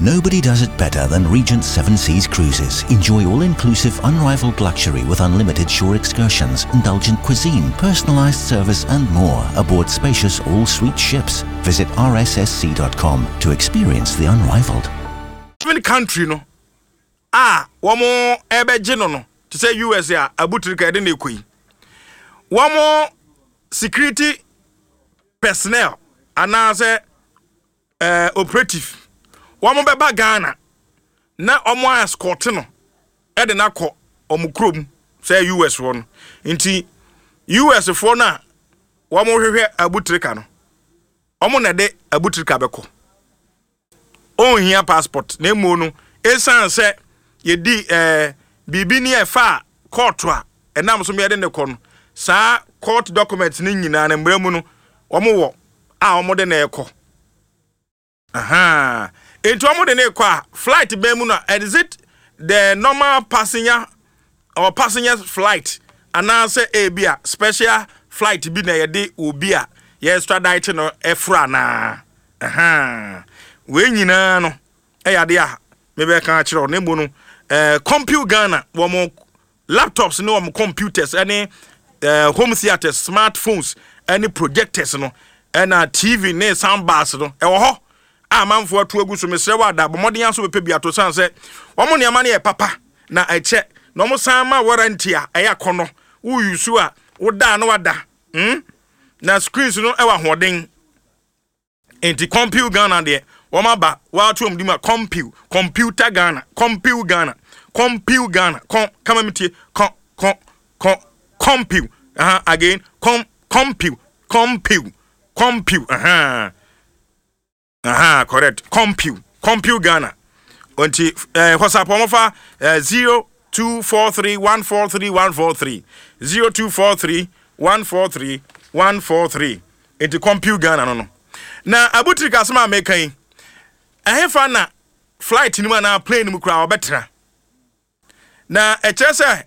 Nobody does it better than Regent Seven Seas Cruises. Enjoy all-inclusive, unrivaled luxury with unlimited shore excursions, indulgent cuisine, personalized service and more aboard spacious all-suite ships. Visit rssc.com to experience the unrivaled. Even country no a wɔn ɛbɛgye no no te sɛ US a abutirika ɛde na ekɔ yi wɔn security personnel anaasɛ eh, operative wɔn bɛba Ghana na wɔn escort no ɛde no akɔ wɔn kurom sɛ US foɔ no. Nti US foɔ no a wɔn hwehwɛ abutirika no, wɔn na ɛde abutirika bɛkɔ. Ɔnhia passport na emu no esan sɛ yɛdi eh, biribi ni ɛfa kɔɔto a ɛnam so yɛde ne kɔ no, saa court document no nyinaa no mmerɛ mu no wɔn wɔ a wɔn de na ɛkɔ. Ahaa. Nti wɔn de ne kɔ a, flight bɛn mu na, is it the normal passenger or passengers flight anaasɛ ebi a special flight bi na yɛde obi a yɛ extradite no ɛforo anaa? Ahaa. Wei nyinaa no ɛyɛ adeɛ a mebɛka akyerɛ wo. Na mmom no, eh, Compute Ghana wɔn Laptops ne wɔn computers ne home theatres, smartphones ne projectors no ɛna TV ne sound bars no ɛwɔ hɔ a amanfoɔ atu agu so. Mesrɛ wo ada, bɔ mmɔden aso bɛpɛ bi ato sane sɛ wɔn nneɛma no yɛ papa na ɛkyɛ na wɔn san ma warranty a ɛyɛ akɔnnɔ. Wo use a woda na wada na screens no ɛwɔ ahoɔden. Nti Compew Ghana deɛ wɔn aba wɔato wɔn di mu a Compew, Computer Ghana, Compew Ghana, Compew Ghana, kɔn kama mi tie kɔn kɔn kɔn Compew, aha again kɔn Compew, Compew, Compew, aha aha correct Compew, Compew Ghana. Nti eh, WhatsApp wɔn fa eh, 0243143143 0243143143. Enti kɔmpiw Ghana no no. Na Abutric asɛm a meka yi, ɛhefa na flight no mu anaa plane no mu koraa ɔbɛtena? Na ɛkyerɛ sɛ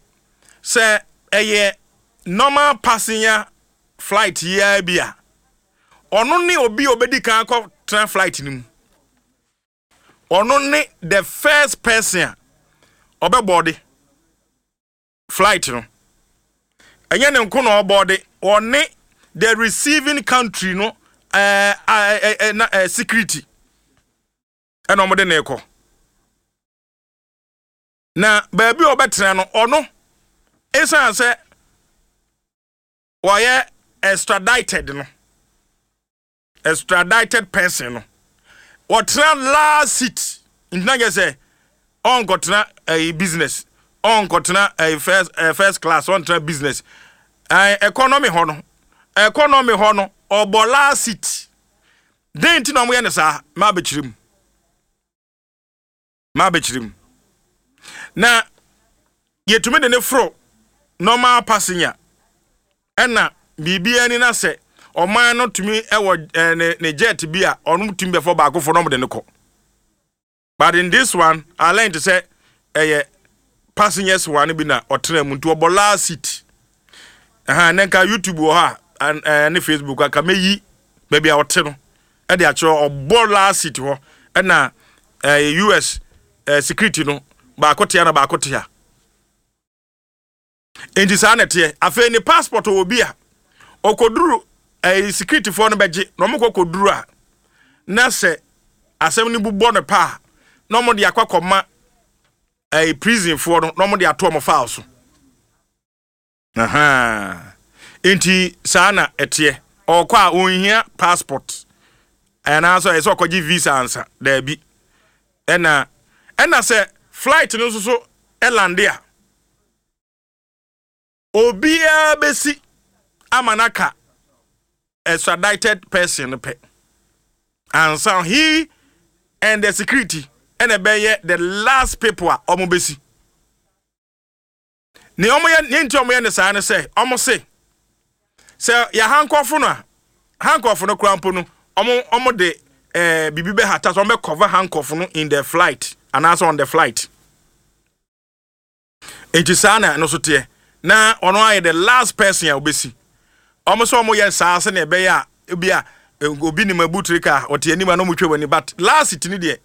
sɛ ɛyɛ normal passenger flight yi ara bi a, ɔno ne obi a obedi kan akɔtena flight no mu. Ɔno ne the first person a ɔbɛbɔɔde flight no. Ɛnyɛ ne nko na ɔbɔɔde, ɔne the receiving country no ɛɛ ɛɛ ɛɛ na ɛɛ security ɛna wɔde ne kɔ. Na baabi a ɔbɛtena no, ɔno esan sɛ wɔyɛ extradited no, extradited person no, ɔtena last seat. Nti na kyerɛ sɛ ɔnkɔtena ɛyi business, ɔnkɔtena ɛyi first ɛɛ first class, ɔntena business. Ɛɛ economy hɔ no, economy hɔ no, ɔbɔ last seat. Den nti na wɔyɛ no saa? Maa bɛkyerɛ mu. M'abɛkyerɛ mu. Na yɛtumi de ne foro normal passenger ɛna biribiara ni na sɛ ɔman no tumi ɛwɔ ɛɛ ne ne jet bi a ɔno tumi bɛfɔ baakofo na ɔmo de no kɔ. But in this one, I learned sɛ ɛyɛ passengers one bi na ɔtena mu nti ɔbɔ last seat. Ɛha ne nka YouTube wɔ hɔ a ɛɛ ne Facebook anka mɛyi baabi a ɔte no ɛde akyerɛ ɔbɔ last seat hɔ ɛna ɛɛ US ɛɛ security no baako tea na baako tea. Nti saa na ɛteɛ. Afei ne passport wɔ bi a ɔkɔduru ɛɛ security foɔ no bɛgye na wɔn kɔ kɔduru a na sɛ asɛm no bu bɔ no paa na wɔn de akɔ akɔma ɛɛ prison foɔ no na wɔn de ato wɔn file so. Ahaa. Nti saa na ɛteɛ. Ɔkɔ a ɔnhia passport anaasɛ ɛsɛ ɔkɔgye visa ansa. Daabi. Ɛna ɛna sɛ flight no nso so ɛlande a, obiara bɛsi ama no aka extradited person no pɛ. Ansa he and the security ɛna ɛbɛyɛ the last people a wɔn bɛsi. Nea wɔyɛ nea nti a wɔyɛ no saa ne sɛ wɔn se sɛ yɛ hankɔfo no a hankɔfo no koraa mpo no wɔn wɔn de ɛɛ biribi bɛhata so wɔn bɛ cover hankɔfo no in the flight anaasɛ on the flight. Nti saa na ɛno so teɛ na ɔno ayɛ the last person a obesi. Wɔn sɛ wɔn yɛ saa sɛnea ɛbɛyɛ a ebi a obi nim abutire ka ɔte anim a na wɔn twa wɔn ani but last ti ne deɛ.